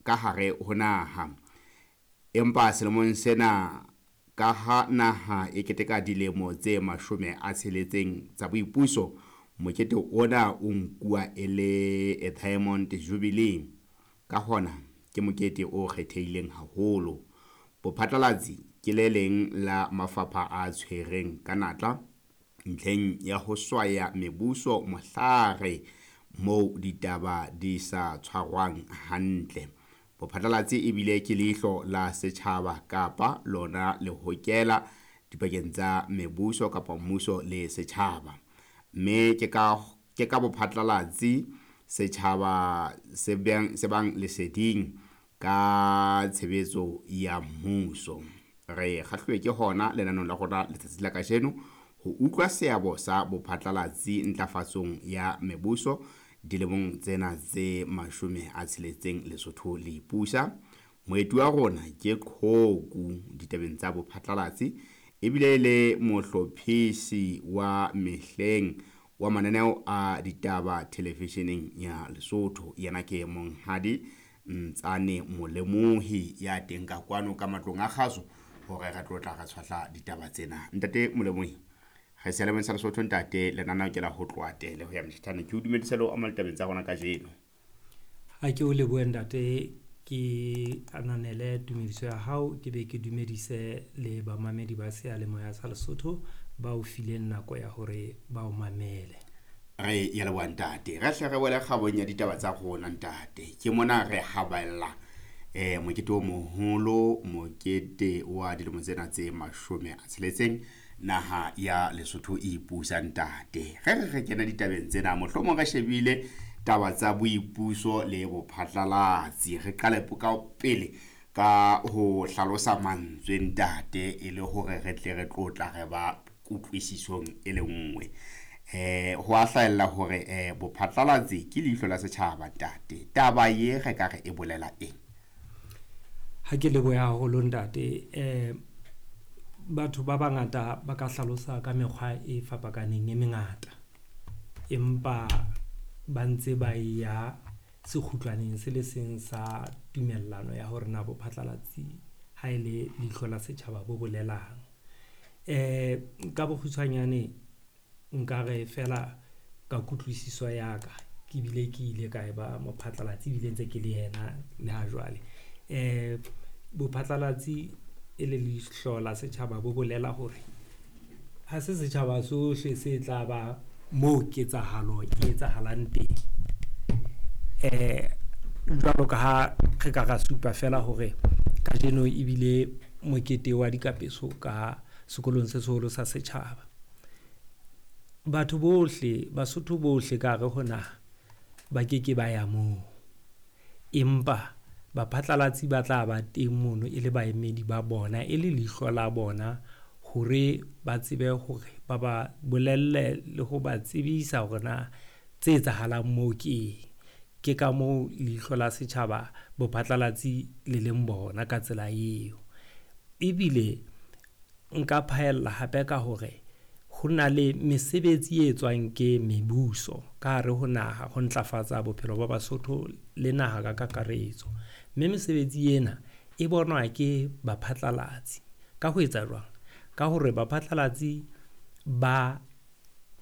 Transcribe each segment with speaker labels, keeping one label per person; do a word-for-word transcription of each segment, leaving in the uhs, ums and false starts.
Speaker 1: ka hare ho naha. Empa selemong sena ka ha naha e keteka dilemo tse mashome a tsheletseng tsa boipuso, mokete ona o nkuwa e le a Diamond Jubilee. Ka hona ke mokete o kgethehileng haholo. Bophatlalatsi ke le leng la mafapha a tshwereng ka natla ntlheng ya ho swaya mebuso mohlare moo ditaba di sa tshwarwang hantle. Bophatlalatsi ebile ke leihlo la setjhaba kapa lona lehokela dipakeng tsa mebuso kapa mmuso le setjhaba. Mme ke ka ke ka bophatlalatsi setjhaba se bang se bang leseding ka tshebetso ya mmuso. Re kgahluwe ke hona lenaneong la rona letsatsi la kajeno ho utlwa seabo sa bophatlalatsi ntlafatsong ya mebuso dilemong tsena tse mashome a tsheletseng Lesotho le ipusa. Moeti wa rona ke qhoku ditabeng tsa bophatlalatsi ebile le mohlophisi wa mehleng wa mananeo a ditaba televisheneng ya Lesotho. Yena ke Monghadi Ntsane Molemohi ya teng ka kwano ka matlong a kgaso hore re tlo tla re tshwahla ditaba tsena. Ntate Molemohi, re seyalemoyeng sa Lesotho ntate, lenaneo ke la ho tloha tele ho ya motjhetjhane. Ke o dumedise le ho amohela ditabeng tsa rona kajeno.
Speaker 2: Ha ke o lebohe ntate, ke ananele tumediso ya hao, ke be ke dumedise le bamamedi ba seyalemoya sa Lesotho ba o fileng nako ya hore ba o mamele.
Speaker 1: Re ya leboha ntate. Re hle re wele kgabong ya ditaba tsa rona ntate. Ke mona re habella eh mokete o moholo, mokete wa dilemo tsena tse mashome a tsheletseng naha ya Lesotho e ipusa ntate. Re re re kena ditabeng tsena, mohlomong re shebile taba tsa boipuso le bophatlalatsi. Re qale ka pele ka ho hlalosa mantswe ntate e le hore re tle re tlotla re ba kutlwisisong e le nngwe. Eh ho a hlahella hore eh bophatlalatsi ke leihlo la setjhaba ntate. Taba ye re ka re e bolela eng?
Speaker 2: Ha ke lebohe haholo ntate. Eh batho ba bangata ba ka hlalosa ka mekgwa e fapakaneng e mengata, empa ba ntse ba ya sekgutlwaneng se le seng sa tumellano ya hore na bophatlalatsi ha e le leihlo la setjhaba bo bolelang. Eh ka bokgutshwanyane nka re fela ka kutlwisiso ya ka, ke bile ke ile ka e ba mophatlalatsi ebile ntse ke le yena le ha jwale. Eh bophatlalatsi e le leihlo la setjhaba bo bolela hore ha se setjhaba sohle se tla ba moo ketsahalo e etsahalang teng. Eh jwalo ka ha re ka ra supa fela hore kajeno ebile mokete wa dikapeso ka sekolong se seholo sa setjhaba. Batho bohle, Basotho bohle ka hare ho naha ba keke ba ya moo, empa baphatlalatsi ba tla ba teng mono e le baemedi ba bona, e le leihlo la bona hore ba tsebe hore ba ba bolelle le ho ba tsebisa hore na tse etsahalang moo ke eng. Ke ka moo leihlo la setjhaba bophatlalatsi le leng bona ka tsela eo. Ebile nka phaella hape ka hore ho na le mesebetsi e etswang ke mebuso ka hare ho naha ho ntlafatsa bophelo ba Basotho le naha ka kakaretso. Mme mesebetsi ena e bonwa ke baphatlalatsi. Ka ho etsa jwang? Ka hore baphatlalatsi ba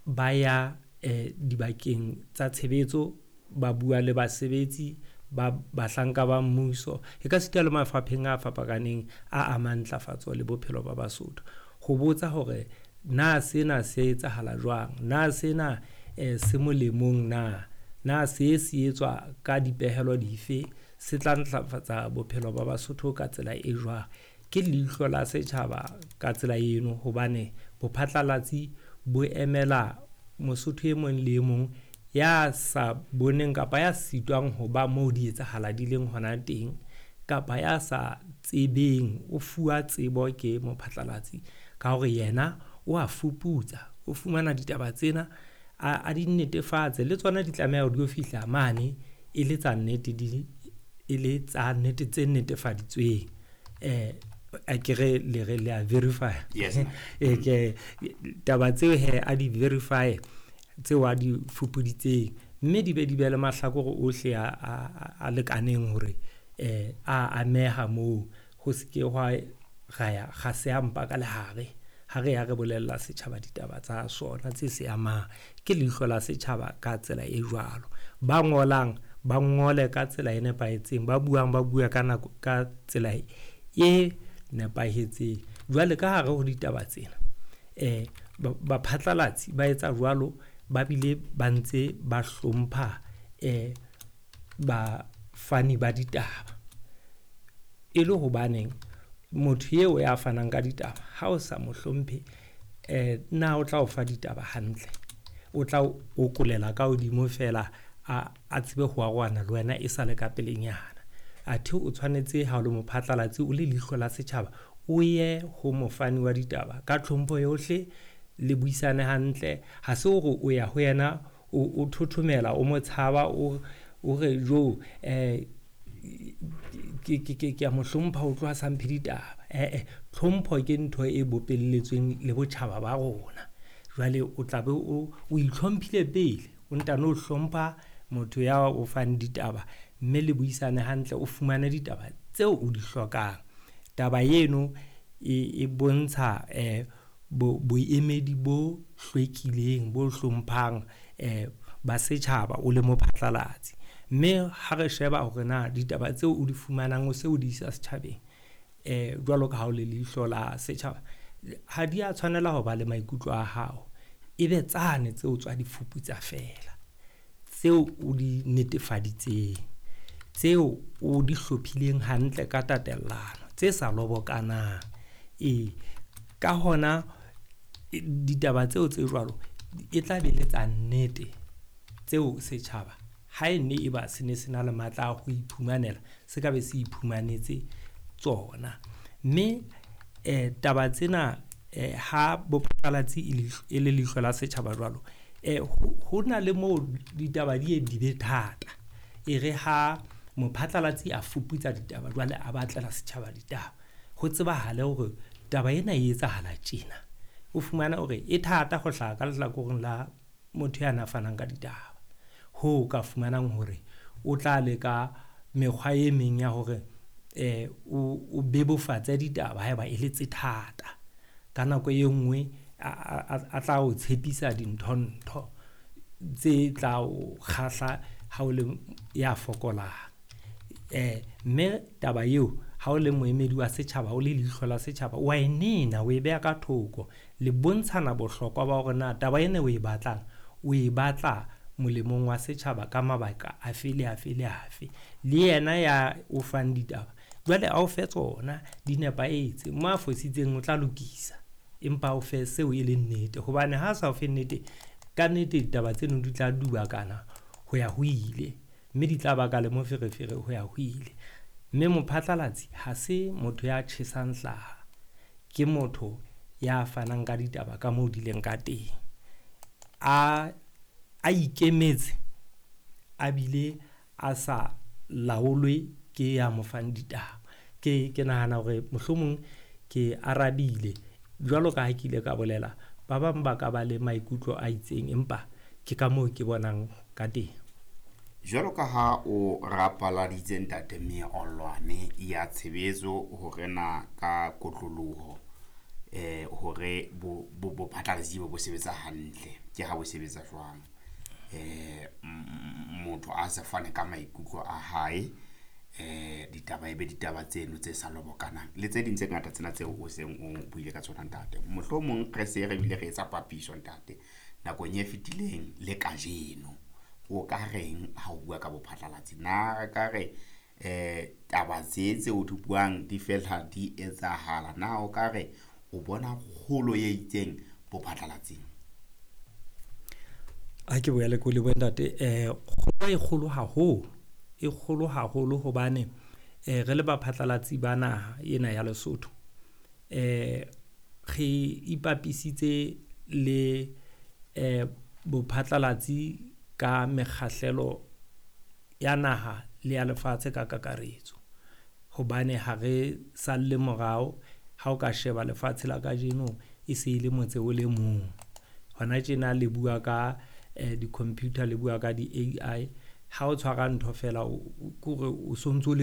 Speaker 2: ba ya eh dibakeng tsa tshebetso, ba bua le basebetsi ba bahlanka ba mmuso, e ka sita le mafapheng a fapakaneng a amang ntlafatso le bophelo ba Basotho, ho botsa hore na sena se etsahala jwang, na sena eh se molemong na, na se se etswa ka dipehelo dife, se tla ntlafatsa bophelo ba Basotho ka tsela e jwang. Ke leihlo la setjhaba ka tsela eno, hobane bophatlalatsi bo emela Mosotho e mong le e mong ya sa boneng kapa ya sitwang ho ba moo di etsahala di leng hona teng, kapa ya sa tsebeng, o fuwa tsebo ke mophatlalatsi ka hore yena o a fuputsa, o fumana ditaba tsena a, a di netefatse, le tsona di tlameha hore di yo fihla mane e le tsa nnete, di e le tsa nnete tse netefaditsweng. Eh akere le re le a verify.
Speaker 1: Yes.
Speaker 2: E ke taba tseo he a di verify tseo a di fupuditseng, mme di be di be le mahlakore ohle a, a, a lekaneng hore eh a ameha moo, ho se ke hwa ra ya ga se ampa ka lehare ha re ya re bolella setjhaba ditaba tsa sona tse se amang. Ke leihlo la setjhaba ka tsela e jwalo. Ba ngolang ba ngole ka tsela e nepahetseng, ba buang ba bua ka nako ka tsela e nepahetseng. Jwale ka hare ho ditaba tsena eh baphatlalatsi ba etsa jwalo, ba bile ba ntse ba hlompha eh bafani ba ditaba. E le hobaneng motho eo ya fanang ka ditaba ha o sa mo hlomphe, eh na o tla o fa ditaba hantle? O tla o kolela ka hodimo fela a a tsebe ho arohana le wena e sale ka pelenyana. Athe o tshwanetse ha o le mophatlalatsi, o le leihlo la setjhaba, o ye ho mofani wa ditaba ka tlhompho yohle, le buisane hantle. Ha se hore o ya ho yena o o thothomela, o mo tshaba, o o re jo eh ke ke ke ke a mo hlompha o tloha sa mphe ditaba. Eh eh tlhompho ke ntho e bopelletsweng le botjhaba ba rona. Jwale o tla be o o itlhomphile pele, o ntano hlompha motho ya o fang ditaba, mme le buisane hantle, o fumane ditaba tseo o di hlokang. Taba eno e e bontsha eh bo boemedi bo hlwekileng, bo hlomphang eh ba setjhaba o le mophatlalatsi. Mme ha re sheba hore na ditaba tseo o di fumanang o se o di isa setjhabeng eh jwalo ka ha o le leihlo la setjhaba, ha di a tshwanela ho ba le maikutlo a hao. E be tsane tseo tswa di fuputsa fela, tseo o di netefaditseng, tseo o di hlophileng hantle ka tatellano, tse sa lobokanang. E ka hona ditaba tseo tse jwalo e tla be le tsa nnete, tseo setjhaba ha e ne e ba se ne se na le matla a ho iphumanela, se ka be se iphumanetse tsona. Mme eh taba tsena eh ha bophatlalatsi e le leihlo la setjhaba jwalo, eh ho na le moo ditaba di ye di be thata. E re ha mophatlalatsi a fuputsa ditaba jwale a batlela setjhaba ditaba, ho tsebahale hore taba ena e etsahala tjena. O fumana hore e thata ho hlaha ka lehlakoreng la motho ya na fanang ka ditaba. Ho ka fumanang hore o tla leka mekgwa e meng ya hore eh o o bebofatse ditaba haeba e le tse thata. Ka nako e nngwe a tla o tshepisa dintho-ntho tse tla o kgahla ha o le ya fokolang. Eh mme taba eo ha o le moemedi wa setjhaba, o le leihlo la setjhaba, wa e nena, o e beha ka thoko. Le bontshana bohlokwa ba hore na taba ena o e batlang, o e batla molemong wa setjhaba ka mabaka afe le afe le afe. Le yena ya o fang ditaba jwale a o fe tsona di nepahetse, mo a fositseng o tla lokisa, empa o fe seo e leng nnete. Hobane ha sa o fe nnete, ka nnete ditaba tseno di tla dubakana ho ya ho ile, mme di tla baka le moferefere ho ya ho ile. Mme mophatlalatsi ha se motho ya tjhesang hlaha, ke motho ya fanang ka ditaba ka moo di leng ka teng, a a ikemetse, a bile a sa laolwe ke ya mo fang ditaba. Ke ke nahana hore mohlomong ke arabile jwalo ka ha ke ile ka bolela, ba bang ba ka ba le maikutlo a itseng, empa ke ka moo ke bonang ka teng.
Speaker 1: Jwalo ka ha o rapaladitse ntate meolwane ya tshebetso hore na ka kotloloho eh hore bo bo phatlalatsi bo sebetsa hantle, ke ha bo sebetsa jwang? Eh motho a se fane ka maikutlo a hae, eh ditaba ebe ditaba tseno tse sa lobokanang le tse ding tse ngata tsena tseo o seng o buile ka tsona ntate. Mohlomong re se re bile re etsa papiso ntate nakong e fetileng le kajeno, o ka reng ha o bua ka bophatlalatsi? Na re ka re eh taba tse tse o di buang di fela di etsahala? Na o ka re o bona kgolo e itseng bophatlalatsing?
Speaker 2: A ke boele ko lebohe ntate. Eh kgolo e kgolo haholo, e kgolo haholo hobane eh re le baphatlalatsi ba naha ena ya Lesotho, eh re ipapisitse le eh bophatlalatsi ka mekgahlelo ya naha le ya lefatshe ka kakaretso. Hobane ha re salle morao, ha o ka sheba lefatshe la kajeno e se e le motse o le mong. Hona tjena le bua ka eh di-computer, le bua ka di-A I. Ha o tshwara ntho fela, kore o sontso le